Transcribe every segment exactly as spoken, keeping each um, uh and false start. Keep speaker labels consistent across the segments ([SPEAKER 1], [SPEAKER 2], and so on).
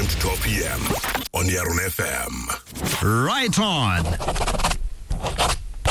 [SPEAKER 1] to twelve p m on Yaron F M.
[SPEAKER 2] Right on.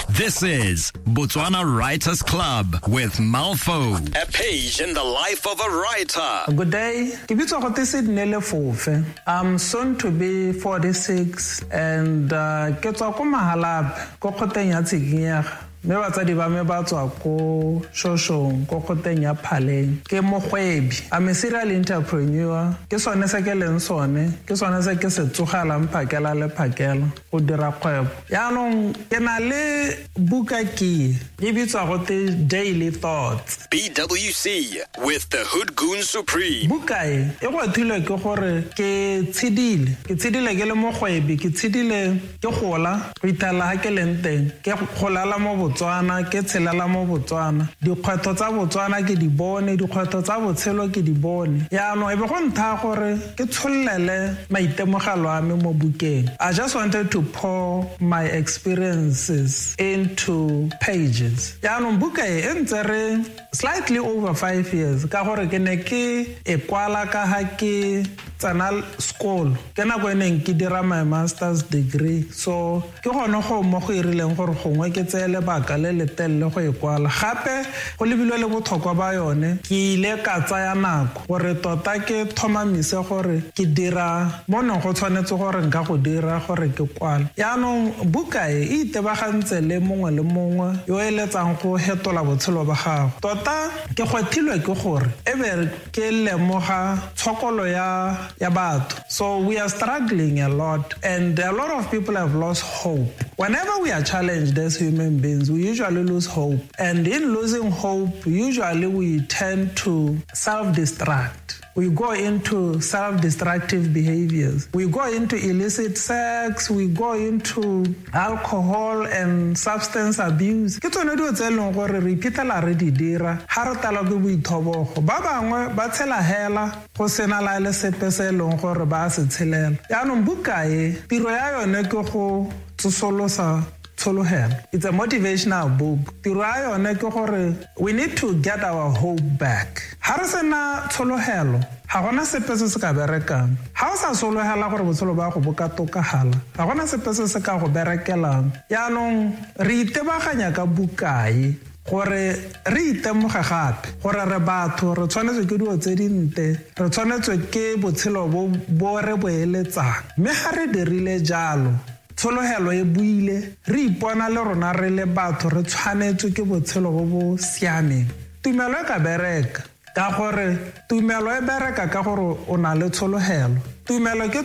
[SPEAKER 2] This is Botswana Writers Club with Malfo. A page in the life of a writer.
[SPEAKER 3] Good day. Ke bitswa go Sydney Lefofe. I'm soon to be forty-six and uh, ke tswa ko Mahalapye, ko kgoteng ya Tshikinyega. Mme batsadi ba me ba tswa ko Shoshong, ko kgoteng ya Phaleng. Ke mogwebi. I'm a serial entrepreneur. Ke sone se ke leng sone. Ke sone se ke se tsogelang phakela le phakela go dira kgwebo. Yaanong ke na le buka ke e bitswa go te Daily Thoughts.
[SPEAKER 2] B W C with the Hood Goon Supreme.
[SPEAKER 3] Buka e e gwathilwe ke gore ke tshedile ke tshedile ke le mogwebi, ke tshedile ke gola go ithela ga ke leng teng, ke golala mo Botswana, ke tshelela mo Botswana. Dikgwetlho tsa Botswana ke di bone, dikgwetlho tsa botshelo ke di bone. Yaanong e be go nthaya gore ke tshololele maitemogelo a me mo bukeng. I just wanted to pour my experiences into pages. Yaanong buka e e ntse re slightly over five years ka gore ke ne ke e kwala ka ga ke tsena sekolo, ke nako e neng ke dira my master's degree. So ke gone go mo go irileng gore gongwe ke tseye lebaka le le telele go e kwala. Gape go lebilwe le botlhokwa ba yone, ke ile ka tsaya nako gore tota ke tlhomamise gore ke dira mo neng go tshwanetse gore nka go dira gore ke kwale. Yaanong buka e e itebagantse le mongwe le mongwe yo eletsang go hetola botshelo ba gago. Tota ke gwathilwe ke gore e be ke lemoga tshokolo ya ya batho. So we are struggling a lot and a lot of people have lost hope. Whenever we are challenged as human beings, we usually lose hope, and in losing hope, usually we tend to self-destruct. We go into self-destructive behaviors. We go into illicit sex, we go into alcohol and substance abuse. Ke tsone dilo tse e leng gore re iphitlhela re di dira ga re talwa ke boithobogo. Ba bangwe ba tshela hela go sena la le sepe se e leng gore ba se tshelela. Yaanong buka e, tiro ya yone ke go tsosolosa tshologelo. It's a motivational book. Tiro ya yone ke gore we need to get our hope back. Ha re sena tshologelo, ga gona sepe se se ka berekang. Ha o sa sologela gore botshelo ba go bo ka tokagala, ga gona sepe se se ka go berekelang. Yaanong re itebaganya ka bukae gore re itemoge gape gore re batho, re tshwanetswe ke dilo tse dinte, re tshwanetswe ke botshelo bo bo re bo eletsang. Mme ga re dirile jalo, tshologelo e buile, re ipona le rona re le batho re tshwanetswe ke botshelo bo bo siameng. Tumelo e ka bereka ka gore tumelo e bereka ka gore o na le tshologelo. Tumelo ke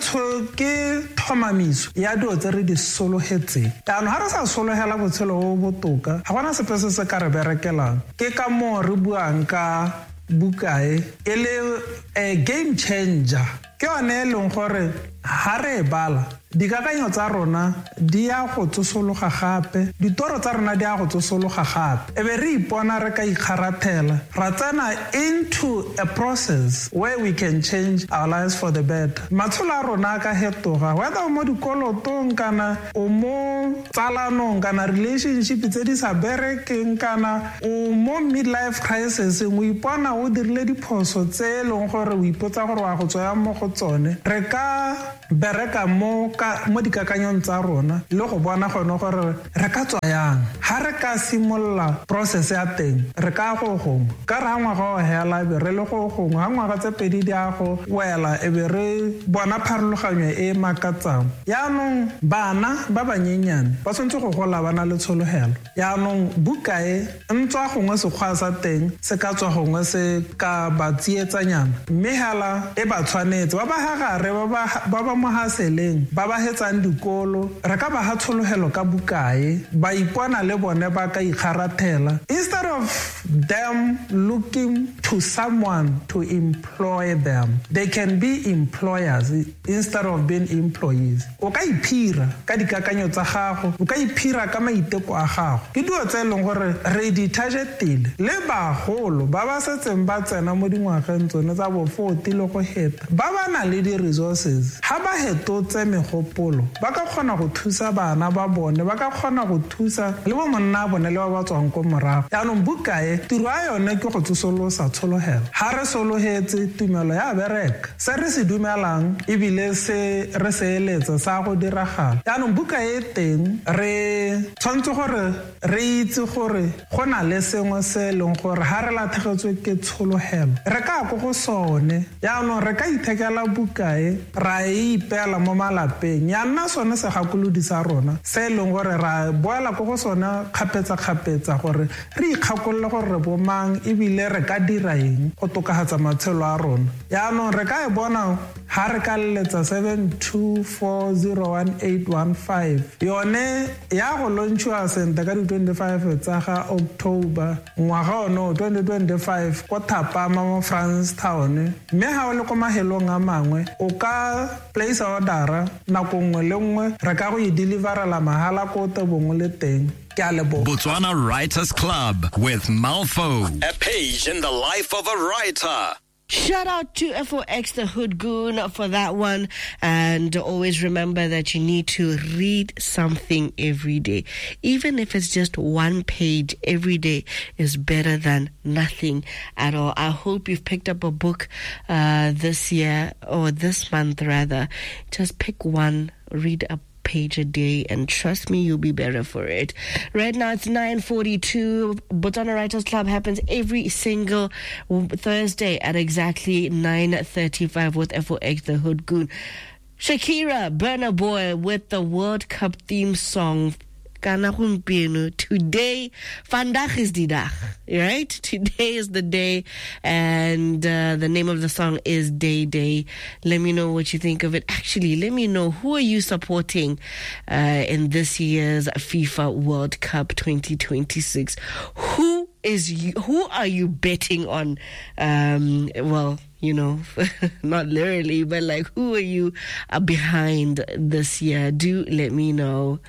[SPEAKER 3] ke tlhomamiso ya dilo tse re di sologetseng. Jaanong ga re sa sologela botshelo bo botoka, ga gona sepe se se ka re berekelang. Ke ka moo re buang ka bukae e le a game changer. Ke yone e leng gore ga re e bala, dikakanyo tsa rona di ya go tsosologa gape, ditoro tsa rona di ya go tsosologa gape, e be re ipona re ka ikgarathela, ra tsena into a process where we can change our lives for the better. Matsholo a rona a ka hetoga, whether o mo dikolotong kana o mo tsalanong kana relationship tse di sa berekeng kana o mo midlife crisis, o ipona o dirile diphoso tse e leng gore o ipotsa gore wa go tswa mo go tsone. Re ka bereka mo ka mo dikakanyong tsa rona le go bona gone gore re ka tswa yang. Ha re ka simolola process ya teng, re ka go gongwe ka re ha ngwaga o hela e be re le go gongwe, ha ngwaga tse pedi di a go wela e be re bona pharologanyo e makatsang. Yaanong bana ba banyenyane ba tshwanetse go gola ba na le tshologelo. Yaanong buka e ntswa gongwe sekgwa sa teng se ka tswa gongwe se ka ba tsietsanyana, mme hela e ba tshwanetse ba ba hagare, ba ba mo haseleng, ba ba hetsang dikolo, re ka ba ha tshologelo ka bukae, ba ipona le bone ba ka ikgarathela instead of them looking to someone to employ them. They can be employers instead of being employees. O ka iphira ka dikakanyo tsa gago, o ka iphira ka maiteko a gago. Ke dilo tse e leng gore re di targetile le bagolo ba ba setseng ba tsena mo dingwageng tsone tsa bo forty le go heta, ba ba na le di-resources. Ha ga ba hetotse megopolo ba ka kgona go thusa bana ba bone, ba ka kgona go thusa le bo monna bone le ba ba tswang ko morago. Jaanong buka e tiro ya yone ke go tsosolosa tshologelo. Ga re sologetse tumelo ya bereka, se re se dumelang ebile se re se eletsa sa go diragala. Jaanong buka e teng re tshwanetse gore re itse gore go na le sengwe se e leng gore ga re latlhegetswe ke tshologelo re ka ko go sone. Jaanong re ka ithekela buka e ra e ipeela mo malapeng, ya nna sone segakolodi sa rona se e leng gore ra boela ko go sone kgapetsa-kgapetsa gore re ikgakolole gore re bomang ebile re ka dira eng go tokafatsa matshelo a rona. Jaanong re ka e bona ha re ka leletsa seven two four zero one eight one five, yone ya go launchiwa sentle ka di twenty-five tsa ga October ngwaga ono twenty twenty-five ko Thapama mo Francistown. Mme ha o le ko mahelong a mangwe o ka place order nako nngwe le nngwe, re ka go e deliverela mahala ko tebong le teng. Ke a leboga.
[SPEAKER 2] Botswana Writers Club with Malfo, a page in the life of a writer.
[SPEAKER 4] Shout out to F O X the Hood Goon for that one. And always remember that you need to read something every day. Even if it's just one page every day is better than nothing at all. I hope you've picked up a book uh, this year, or this month rather. Just pick one, read a page a day, and trust me, you'll be better for it. Right now it's nine forty-two. Botswana Writers Club happens every single Thursday at exactly nine thirty-five with F O X the Hood Goon. Shakira, Burna Boy with the World Cup theme song. Kana gompieno, today, vandaag is die dag, right? Today is the day, and uh, the name of the song is Day Day. Let me know what you think of it. Actually, let me know, who are you supporting uh, in this year's FIFA World Cup twenty twenty-six? Who is you, who are you betting on? Um, well, you know, not literally, but like, who are you uh, behind this year? Do let me know.